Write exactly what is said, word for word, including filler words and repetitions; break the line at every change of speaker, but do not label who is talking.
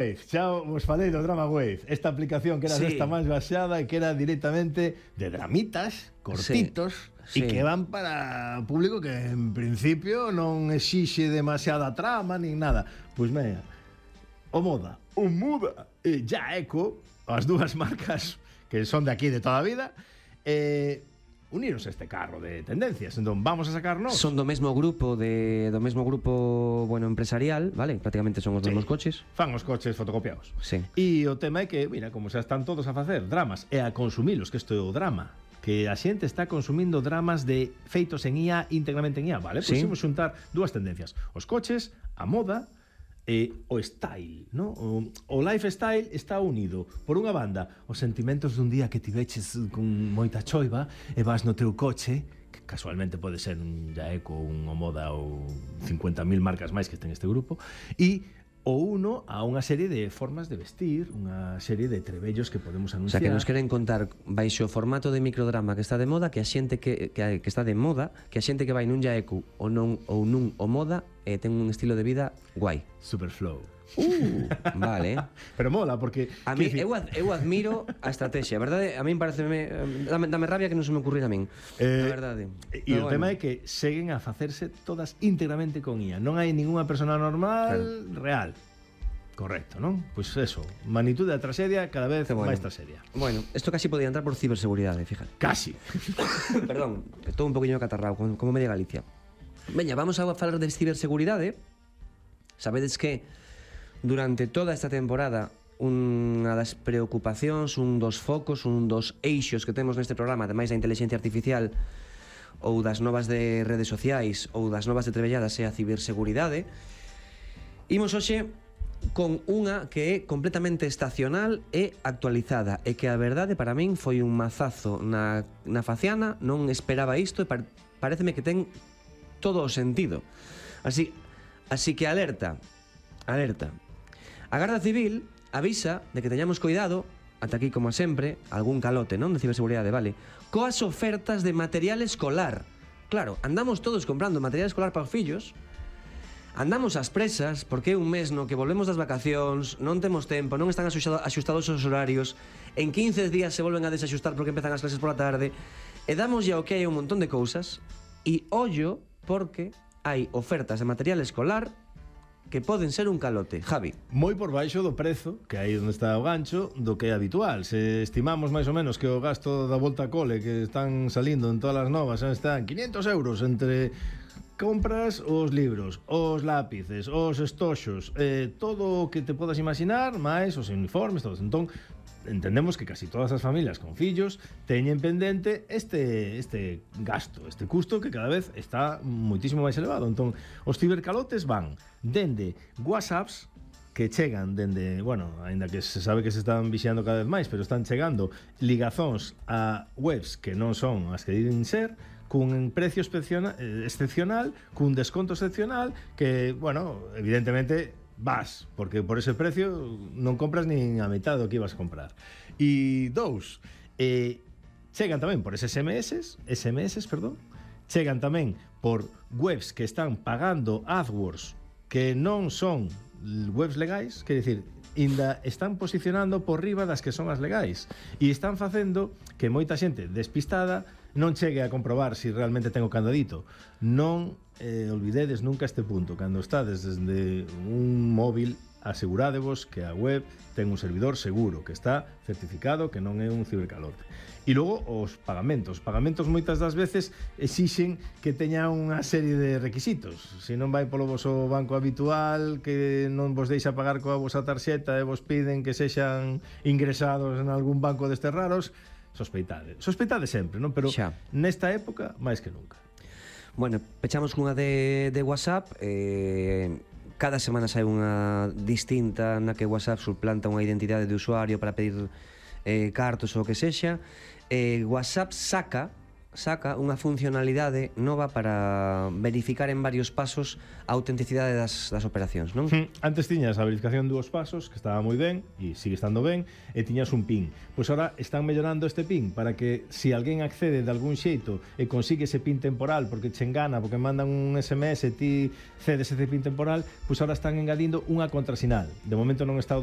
Xa vos falei do Drama Wave, esta aplicación que era
Sí.
esta máis baixada e que era directamente de dramitas, cortitos,
Sí,
e
sí.
que van para público que en principio non exixe demasiada trama nin nada. Pois mea, o Moda, o Muda e Jaeco, as dúas marcas que son de aquí de toda a vida, eh, uniros a este carro de tendencias. Entón, vamos a sacarnos...
Son do mesmo grupo de do mesmo grupo, bueno, empresarial, vale? Prácticamente son os
Sí.
mesmos coches.
Fan os coches fotocopiados.
Sí.
E o tema é que, mira, como xa están todos a facer dramas e a consumilos, que isto é o drama, que a xente está consumindo dramas de feitos en I A, íntegramente en I A, vale? Pois
Sí.
imos xuntar dúas tendencias, os coches, a moda e o style, no? O, o lifestyle está unido por unha banda os sentimentos dun día que tiveches con moita choiva e vas no teu coche, que casualmente pode ser un Jaeco, un Omoda ou cincuenta mil marcas máis que ten este grupo, e o uno a unha serie de formas de vestir, unha serie de trebellos que podemos
O sea,
anunciar.
que nos queren contar baixo o formato de microdrama que está de moda, que a xente que, que, que está de moda, que a xente que vai nun Jaeco ou non ou nun o moda eh, ten un estilo de vida guai.
Superflow.
Uh, vale.
Pero mola, porque...
A mí,
quer dicir,
eu, ad- eu admiro a estrategia, a verdade, a min parece dame, dame rabia que non se me ocurrir a min.
Eh,
a verdade.
E
Pero
o tema
bueno.
é que seguen a facerse todas íntegramente con I A. Non hai ninguna persona normal real. Correcto, non? Pois eso, magnitude da tragedia cada vez
Que bueno.
máis tragedia.
Bueno, esto casi podía entrar por ciberseguridade, fíjate.
Casi.
Perdón, que estou un poquinho catarrao, como, como media Galicia. Veña, vamos a falar de ciberseguridade. Sabedes que durante toda esta temporada unha das preocupacións, un dos focos, un dos eixos que temos neste programa, ademais da inteligencia artificial ou das novas de redes sociais ou das novas de trebelladas é a ciberseguridade. Imos hoxe con unha que é completamente estacional e actualizada e que a verdade para min foi un mazazo na, na faciana, non esperaba isto e par, pareceme que ten todo o sentido. Así, así que alerta, alerta. A Garda Civil avisa de que teñamos cuidado, ata aquí como sempre, algún calote, non, de ciberseguridade, vale, coas ofertas de material escolar. Claro, andamos todos comprando material escolar para os fillos. Andamos ás presas porque é un mes no que volvemos das vacacións, non temos tempo, non están axustados, axustados os horarios, en quince días se volven a desaxustar porque empezan as clases pola tarde, e damos ya o que hai un montón de cousas, e ollo porque hai ofertas de material escolar que poden ser un calote. Javi.
Moi por baixo do prezo, que aí onde está o gancho, do que é habitual. Se estimamos máis ou menos que o gasto da volta a cole que están salindo en todas as novas están quinientos euros entre compras os libros, os lápices, os estoxos, eh, todo o que te podas imaginar, máis os uniformes, todos. Entón, entendemos que casi todas as familias con fillos teñen pendente este este gasto, este custo que cada vez está moitísimo máis elevado. Entón, os cibercalotes van dende WhatsApps que chegan dende, bueno, aínda que se sabe que se están vixiando cada vez máis, pero están chegando ligazóns a webs que non son as que dicen ser, cun precio excepcional, excepcional, cun desconto excepcional, que, bueno, evidentemente vas, porque por ese precio non compras nin a metade do que ibas a comprar. E dous, eh, chegan tamén por S M S, S M S, perdón, chegan tamén por webs que están pagando AdWords que non son webs legais, quer dicir, ainda están posicionando por riba das que son as legais e están facendo que moita xente despistada non chegue a comprobar se si realmente ten o candadito. Non eh, olvidedes nunca este punto. Cando estades desde un móvil, asegurádevos que a web ten un servidor seguro, que está certificado, que non é un cibercalote. E logo os pagamentos. Os pagamentos moitas das veces exixen que teña unha serie de requisitos. Se non vai polo voso banco habitual, que non vos deixa pagar coa vosa tarxeta e vos piden que sexan ingresados en algún banco destes raros, sospeitade. Sospeitade sempre, non? Pero
Xa.
nesta época, máis que nunca.
Bueno, pechamos cunha de, de WhatsApp. eh, Cada semana sai unha distinta na que WhatsApp suplanta unha identidade de usuario para pedir eh, cartos ou o que sexa. eh, WhatsApp saca saca unha funcionalidade nova para verificar en varios pasos a autenticidade das, das operacións, non?
Antes tiñas a verificación de dúos pasos, que estaba moi ben, e sigue estando ben, e tiñas un PIN. Pois ahora están mellorando este PIN para que se alguén accede de algún xeito e consigue ese PIN temporal porque che engana, porque mandan un S M S e ti cedes ese PIN temporal, pois ahora están engadindo unha contrasinal. De momento non está o